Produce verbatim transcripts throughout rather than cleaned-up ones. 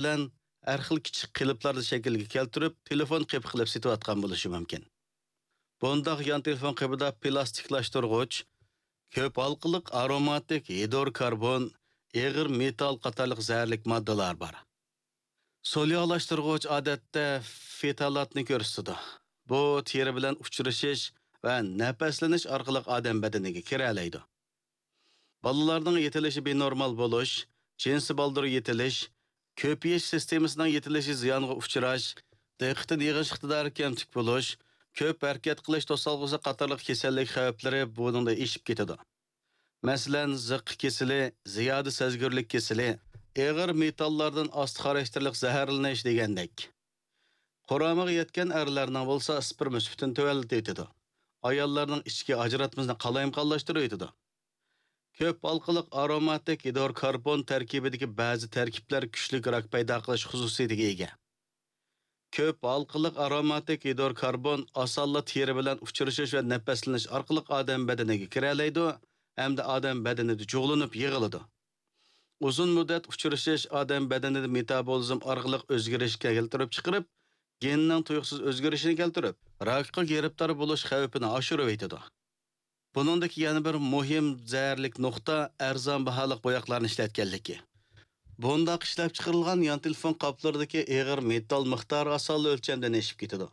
بىلەن ھەر خىل كىچىك قېلىپلارنى شەكىلگە كەلتۈرۈپ، تېلېفون قېپى قىلىپ سېتىۋاتقان بولۇشى مۇمكىن. بۇنداق يان تېلېفون قېپىدا پىلاستىكلاشتۇرغۇچ، كۆپ ھالقىلىق ئاروماتىك ھىدروكاربون، ئېغىر مېتال قاتارلىق زەھەرلىك ماددىلار بار. سولياۋلاشتۇرغۇچ ئادەتتە فېتالاتنى كۆرسىتىدۇ. بۇ تېرە بىلەن ئۇچرىشىش ۋە نەپەسلىنىش ئارقىلىق ئادەم بەدىنىگە كىرەلەيدۇ. بالىلارنىڭ يېتىلىشى بىنورمال بولۇش، جىنسىي بالدۇر يېتىلىش، كۆپىيىش سىستېمىسىنىڭ يېتىلىشى زىيانغا ئۇچراش، دىققىتىنى يىغىش ئىقتىدارى كەمتۈك بولۇش، كۆپ ھەرىكەت قىلىش توسالغۇسى قاتارلىق كېسەللىك خەۋپلىرى بۇنىڭدا ئېشىپ كېتىدۇ. مەسىلەن، زىققا كېسىلى، زىيادە سەزگۈرلۈك كېسىلى، ئېغىر مېتاللاردىن ئاستا خاراكتېرلىق زەھەرلىنىش دېگەندەك. قۇرامىغا يەتكەن ئەرلەرنىڭ بولسا ئىسپېرما سۈپىتىنى تۆۋەنلىتىۋېتىدۇ. ئاياللارنىڭ ئىچكى ئاجراتمىسىنى قالايمىقانلاشتۇرۇۋېتىدۇ. كۆپ ھالقىلىق ئاروماتىك گىدروكاربون تەركىبىدىكى بەزى تەركىبلەر كۈچلۈك راك پەيدا قىلىش خۇسۇسىيىتىگە ئىگە. كۆپ ھالقىلىق ئاروماتىك گىدروكاربون ئاسانلا تېرە بىلەن ئۇچرىشىش ۋە نەپەسلىنىش ئارقىلىق ئادەم بەدىنىگە كىرەلەيدۇ ھەمدە ئادەم بەدىنىدە جۇغلىنىپ يىغىلىدۇ. ئۇزۇن مۇددەت ئۇچرىشىش ئادەم بەدىنىدە مېتابولىزم ئارقىلىق ئۆزگىرىشكە كەلتۈرۈپ چىقىرىپ، گېننىڭ تۇيۇقسىز ئۆزگىرىشىنى كەلتۈرۈپ، راكقا گىرىپتار بولۇش خەۋپىنى ئاشۇرۇۋېتىدۇ. بۇنىڭدىكى يەنە بىر مۇھىم زەھەرلىك نۇقتا ئەرزان باھالىق بوياقلارنى ئىشلەتكەنلىكى. بۇنداق ئىشلەپچىقىرىلغان يان تېلېفون قاپلىرىدىكى ئېغىر مېتال مىقدارى ئاسانلا ئۆلچەمدىن ئېشىپ كېتىدۇ.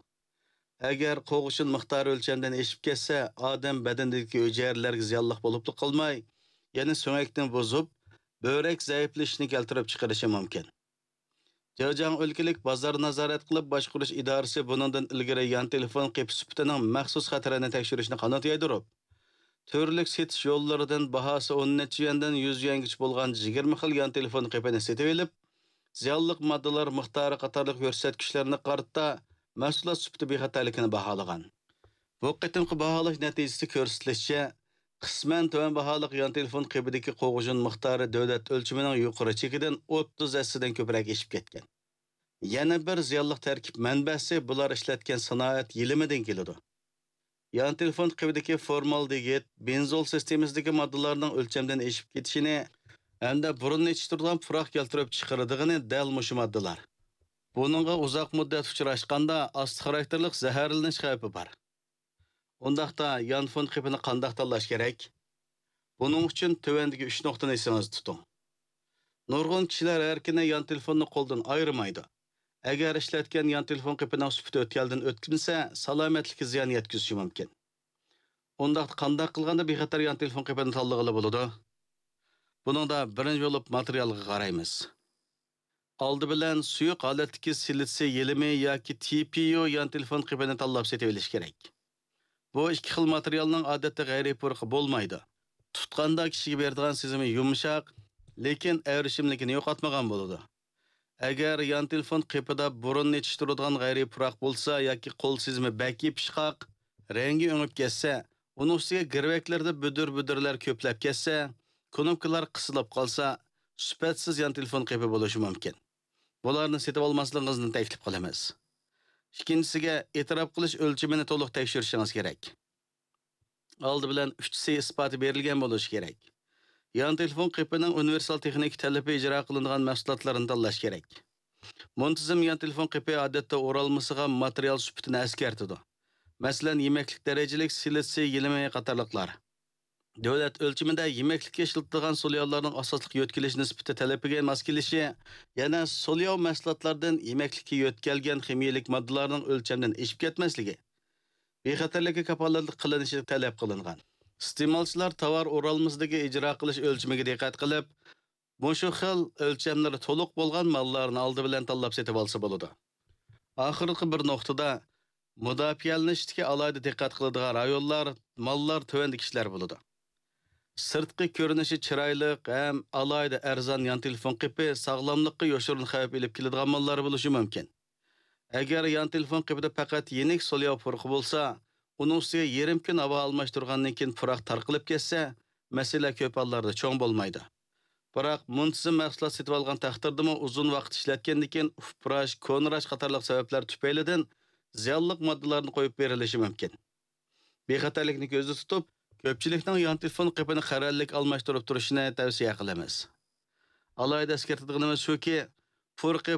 ئەگەر قوغۇشۇن مىقدارى ئۆلچەمدىن ئېشىپ كەتسە، ئادەم بەدىنىدىكى ھۈجەيرىلەرگە زىيانلىق بولۇپلا قالماي، يەنە سۆڭەكنى بۇزۇپ، بۆرەك زەئىپلىشىشنى كەلتۈرۈپ چىقىرىشى مۇمكىن. جېجياڭ ئۆلكىلىك بازار نازارەت قىلىپ باشقۇرۇش ئىدارىسى بۇنىڭدىن ئىلگىرى يان تېلېفون قېپى سۈپىتىنىڭ مەخسۇس خەتىرىنى تەكشۈرۈشنى قانات يايدۇرۇپ، تۈرلۈك سېتىش يوللىرىدىن باھاسى ئون نەچچە يۈەندىن يۈز يۈەنگىچە بولغان يىگىرمە خىل يان تېلېفون قېپىنى سېتىۋېلىپ، زىيانلىق ماددىلار مىقدارى قاتارلىق كۆرسەتكۈچلەرنى قارىتا مەھسۇلات سۈپىتى بىخەتەرلىكىنى باھالىغان. بۇ قېتىمقى باھالاش نەتىجىسىدە كۆرسىتىلىشىچە، قىسمەن تۆۋەن باھالىق يان تېلېفون قېپىدىكى قوغۇشۇن مىقدارى دۆلەت ئۆلچىمىنىڭ يۇقىرى چېكىدىن ئوتتۇز ھەسسىدىن كۆپرەك ئېشىپ كەتكەن. يەنە بىر زىيانلىق تەركىب مەنبەسى بۇلار ئىشلەتكەن سانائەت يېلىمىدىن كېلىدۇ. يان تېلېفون قېپىدىكى فورمالدېگىد، بېنزول سىستېمىسىدىكى ماددىلارنىڭ ئۆلچەمدىن ئېشىپ كېتىشىنى ھەمدە بۇرۇننى يېتىشتۈرىدىغان پۇراق كەلتۈرۈپ چىقىرىدىغىنى دەل مۇشۇ ماددىلار. بۇنىڭغا ئۇزاق مۇددەت ئۇچراشقاندا ئاستا خاراكتېرلىق زەھەرلىنىش خەۋپى بار. ئۇنداقتا يانفون قېپىنى قانداق تاللاش كېرەك؟ بۇنىڭ ئۈچۈن تۆۋەندىكى ئۈچ نۇقتىنى ئېسىڭىزدە تۇتۇڭ. نۇرغۇن كىشىلەر ھەر كۈنى يان تېلېفوننى قولدىن ئايرىمايدۇ. ئەگەر ئىشلەتكەن يان تېلېفون قېپىنىڭ سۈپىتى ئۆتكەلدىن ئۆتكۈزمىسە، سالامەتلىككە زىيان يەتكۈزۈشى مۇمكىن. ئۇنداقتا قانداق قىلغاندا بىخەتەر يان تېلېفون قېپىنى تاللىغىلى بولىدۇ؟ بۇنىڭدا بىرىنچى بولۇپ ماتېرىيالغا قارايمىز. ئالدى بىلەن سۇيۇق ھالەتتىكى سىلىتسىي يېلىمى ياكى تى پى يۇ يان تېلېفون قېپىنى تاللاپ سېتىۋېلىش كېرەك. بۇ ئىككى خىل ماتېرىيالنىڭ ئادەتتە غەيرىي پۇرىقى بولمايدۇ. تۇتقاندا كىشىگە بېرىدىغان سېزىمى يۇمشاق، لېكىن ئەۋرىشىملىكىنى يوقاتمىغان بولىدۇ. ئەگەر يان تېلېفون قېپىدا بۇرۇننى يېتىشتۈرىدىغان غەيرىي پۇراق بولسا ياكى قول سېزىمى بەك يېپىشقاق، رەڭگى ئۆڭۈپ كەتسە، ئۇنىڭ ئۈستىگە گىرۋەكلىرىدە بۈدۈر-بۈدۈرلەر كۆپلەپ كەتسە، كۇنۇپكىلار قىسىلىپ قالسا، سۈپەتسىز يان تېلېفون قېپى بولۇشى مۇمكىن. بۇلارنى سېتىۋالماسلىقىڭىزنى تەكلىپ قىلىمىز. ئىككىنچىسىگە، ئېتىراپ قىلىش ئۆلچىمىنى تولۇق تەكشۈرۈشىڭىز كېرەك. ئالدى بىلەن ئۈچ سى ئىسپاتى بېرىلگەن بولۇشى كېرەك. يان تېلېفون قېپىنىڭ ئۇنىۋېرسال تېخنىكا تەلىپى ئىجرا قىلىنغان مەھسۇلاتلارنى تاللاش كېرەك. مۇنتىزىم يان تېلېفون قېپى ئادەتتە ئورالمىسىغا ماتېرىيال سۈپىتىنى ئەسكەرتىدۇ. مەسىلەن، يېمەكلىك دەرىجىلىك سىلىتسىي يېلىمى قاتارلىقلار. دۆلەت ئۆلچىمىدە يېمەكلىككە ئىشلىتىدىغان سولياۋلارنىڭ ئاساسلىق يۆتكىلىش نىسبىتى تەلىپىگە ماس كېلىشى، يەنە سولياۋ مەھسۇلاتلاردىن يېمەكلىككە يۆتكەلگەن خىمىيەلىك ماددىلارنىڭ ئۆلچەمدىن ئېشىپ كەتمەسلىكى، بىخەتەرلىككە كاپالەتلىك قىلىنىشى تەلەپ قىلىنغان. ئىستېمالچىلار تاۋار ئورالمىسىدىكى ئىجرا قىلىش ئۆلچىمىگە دىققەت قىلىپ، مۇشۇ خىل ئۆلچەملىرى تولۇق بولغان ماللارنى ئالدى بىلەن تاللاپ سېتىۋالسا بولىدۇ. ئاخىرقى بىر نۇقتىدا، مۇداپىئەلىنىشتىكى ئالاھىدە دىققەت قىلىدىغان رايونلار، ماللار تۆۋەندىكى كىشىلەر بولىدۇ. سىرتقى كۆرۈنۈشى چىرايلىق ھەم ئالاھىدە ئەرزان يان تېلېفون قېپى ساغلاملىققا يوشۇرۇن خەۋپ ئېلىپ كېلىدىغان ماللار بولۇشى مۇمكىن. ئەگەر يان تېلېفون قېپىدا پەقەت يېنىك سولياۋ پۇرىقى بولسا، ئۇنىڭ ئۈستىگە يېرىم كۈن ھاۋا ئالماشتۇرغاندىن كېيىن پۇراق تارقىلىپ كەتسە، مەسىلە كۆپ ھاللاردا چوڭ بولمايدۇ. بىراق مۇنتىزىم مەھسۇلات سېتىۋالغان تەقدىردىمۇ ئۇزۇن ۋاقىت ئىشلەتكەندىن كېيىن ئۇپراش، كونىراش قاتارلىق سەۋەبلەر تۈپەيلىدىن زىيانلىق ماددىلارنى قويۇپ بېرىلىشى مۇمكىن. بىخەتەرلىكنى كۆزدە تۇتۇپ، كۆپچىلىكنىڭ يان تېلېفون قېپىنى قەرەللىك ئالماشتۇرۇپ تۇرۇشىنى تەۋسىيە قىلىمىز. ئالاھىدە ئەسكەرتىدىغىنىمىز شۇكى، پۇرىقى